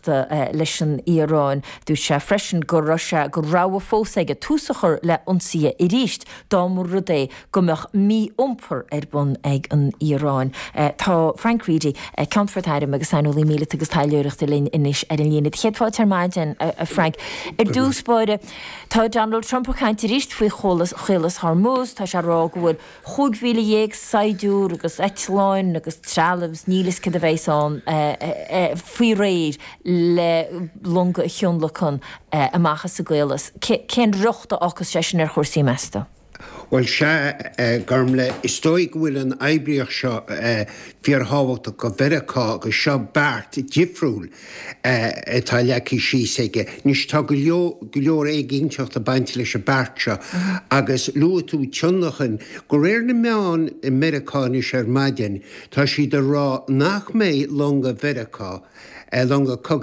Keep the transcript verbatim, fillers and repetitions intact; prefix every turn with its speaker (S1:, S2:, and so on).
S1: gasta leis an Iaráin. Dúirt sé freisin go raibh sé go rogha fós aige tús a chur le ionsaithe arís dá mba rud é go mbeadh mí-iompar ar bun ag an Iaráin. Tá Frank Reidy, Ceannfort Airm agus saineolaí míleata agus taidhleoireachta linn anois ar an líne. Céad fáilte ar maidin a Frank. Ar dtús báire tá Donald Trump ag caint arís faoi Chaolas Hormuz, tá sé rá go bhfuil chúig mhíle dhéag saighdiúir agus eitleáin agus trealamh níl a fhios cad a bheas ann faoi réir le longa a thionlacan amach as an gcaolas. Cén riocht a fhágfas sé sin ar chúrsaí meas tú?
S2: Bhuel sea Gormlaith, is dóigh go bhfuil an oibríocht seo fíorthábhachtach do Mheiriceá agus seo beart difriúil atá leagtha síos aige. Anois tá go leor éiginnteacht ag baint leis an beart seo agus luaigh tú tionlacan de réir na meán i Meiriceá anois ar maidin tá siad ag rá nach mbeidh longa Mheiriceá longa cogaidh